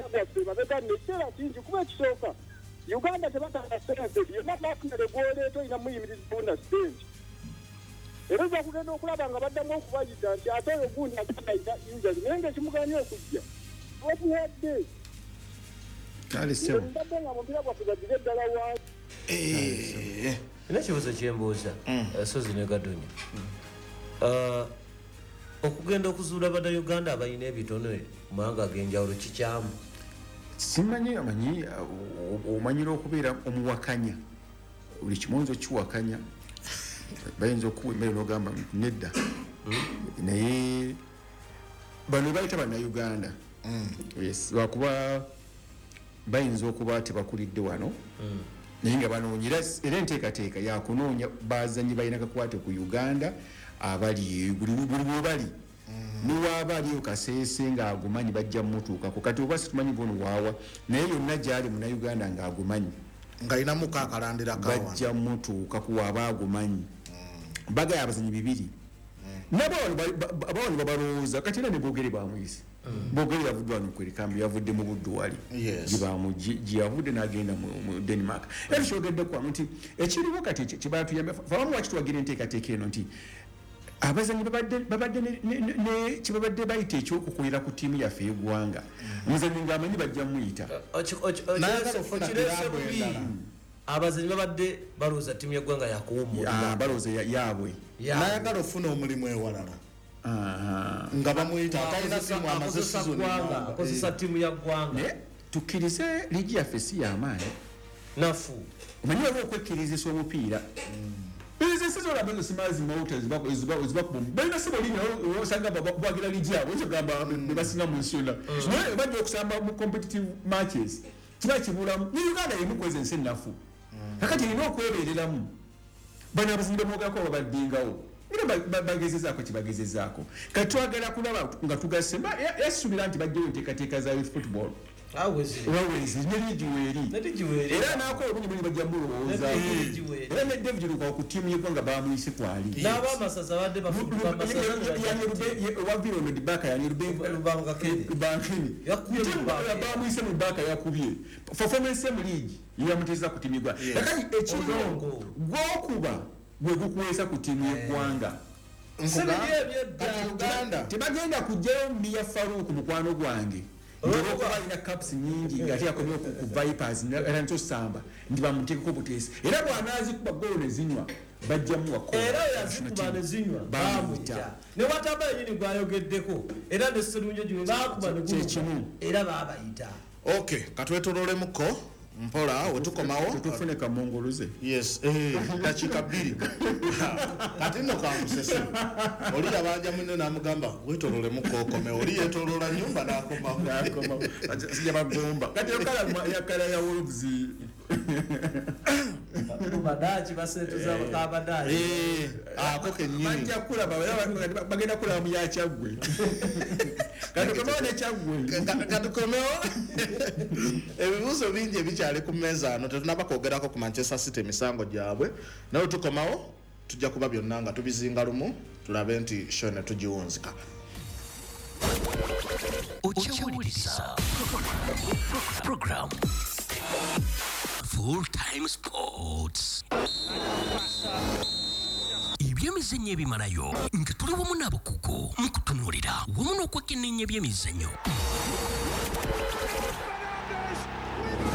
omupiira gwaffe mabega nno ekiseera kingi, kuba ekisooka Uganda tebatanga ssente yonna. Nafunere gwoleeta olina muyimirizawo na ssente, era ojja kugenda okulaba nga baddamu okubayita nti ate oyo gundi agenda ayina injury, naye nga ekimuganye okujja omuwadde. Kale ssebo. Mbadde nga mupiira gwaffe baggire eddala wansi. Nina ekibuuzo kyembuuza, Sozi ne Gadonya. Okugenda okuzuula Bannayuganda abalina ebitone mu mawanga ag'enjawulo kikyamu? Simanyi, amanyi omanyira okubeera omuwakanya, buli kimu oyinza okiwakanya, bayinza okuwa emmere nogamba nti nedda, naye bano bayita Bannayuganda, yes, lwakuba bayinza okuba tebakulidde wano, naye nga banoonya. Era enteekateeka yakunoonya bazanyi balina kakwate ku Uganda abali eyo, buli webali, niwaaba aliyo Kaseese ng'agumanyi, bajja mumutuukako. Kati oba situmanyi gono waawa, naye yonna gyali Munauganda ng'agumanyi, ng'alinamuko akalandira kawa, bajja mutuukaku waaba agumanyi. Bagaya abazanyi bibiri nabo abawano babalowooza. Kati era ne Bogere bamuyise. Bogere yavudde wano kwerikambi, yavudde mu Buddu wali, gye yavudde n'agenda mu Denmark. Era tukyogedde kwano nti ekiriwo kati kyebatuyamba abamu, waki tuwagira enteekateeka eno, nti abazanyi babadde kyebabadde bayita ekyokukolera ku ttiimu yaffe y'eggwanga. Omuzanyi ng'amanyi bajja muyita. Nayagala okufuna Okirese kiraabu bubi. endala. Abazanyi babadde balowooza ttiimu y'eggwanga yakuwummulira. Ah, balowooza yaabwe. Nayagala ofuna omulimu ewalala nga bamuyita, atalina ttiimu, amaze Akozesa season ggwanga, namba. akozesa ttiimu ya ggwanga. Naye tukkirize liigi yaffe si y'amaanyi. Nafu. Omanyi waliwo okwekkirizisa omupiira. Ezo ensi zolaba ezo simazi mawuta ezibakuba balina sibo linya, osanga bawagira liigi yaabwe, oyinza okugamba be basinga mu nsi yonna, naye bajja okusamba mu competitive matches kiba kibulamu. Ne Uganda yemu kweza ensi ennafu, kakati erina okwebereramu. Bano abazanyi bamwogerako babaddingawo, era bagezezaako kyebagezezaako. Kati twagala kulaba nga tugasse. Yasuubira nti bajjayo enteekateeka za youth football. Awezire. Wawezi ne liigi weeri. Ne liigi weeri. Era nakola obungi bungi, bajja mulowoozaako. Ne liigi weeri. Era ne David Lukwago ku ttiimu y'eggwanga bamuyise kwali. N'abamasaza badde bafuduka amasaza ne bajja. Wavira ono dibaka yani. Lubangakene. Bankini. Yakubye Lubangakene. Bamuyise mu baka, yakubye performance mu liigi yamuteeza ku ttiimu y'eggwanga. Kakati ekiriwo, Odongo. gwokuba gwe gukuweesa ku ttiimu y'eggwanga. Si biri ebyedda. Kati Uganda Tebagenda kugjayo Miya Faruku mukwano gwange, olwokuba alina caps nyingi ngaate yakomyewo ku Vipers era ntosamba nti bamuteekeko buteesi, era bw'anaazikuba golo ne zinywa bajja muwa. Era oyo azikuba ne zinywa Bamuyita. bamuyita, ne wataba yenyini gwayogeddeko, era ne Serunjogi bwe bakuba ne guluka, Kyekimu. era babayita. Ok, katwetololemuko mpola, wetukomawo. Tetufune kamongoluze. Yes, dakiika 2. Kati nno kankusese, oli yabanja munne n'amugamba wetololemuko okome, oli yetolola nyumba n'akomawo. Sijja bagomba kati yakala ya Wolves. Badaaki basentuza kabadaaki. Ako kennyini. Bajja kulaba, bagenda kulaba mu yakyaggwe. Kati komewo nekyaggwe. Katukomewo. Ebibuuzo bingi ebikyali ku mmeeza ano, tetunaba kwogerako ku Manchester City, emisango gyabwe, naye tukomawo tujja kuba byonna nga tubizinga lumu, tulabe nti show ne tugiwunzika. Okyawuliriza program Full Time Sports, ebyemizannyo ebimalayo, nga tuli wamu n'abakugu mu kutunuulira wamu n'okwekenneenya ebyemizannyo.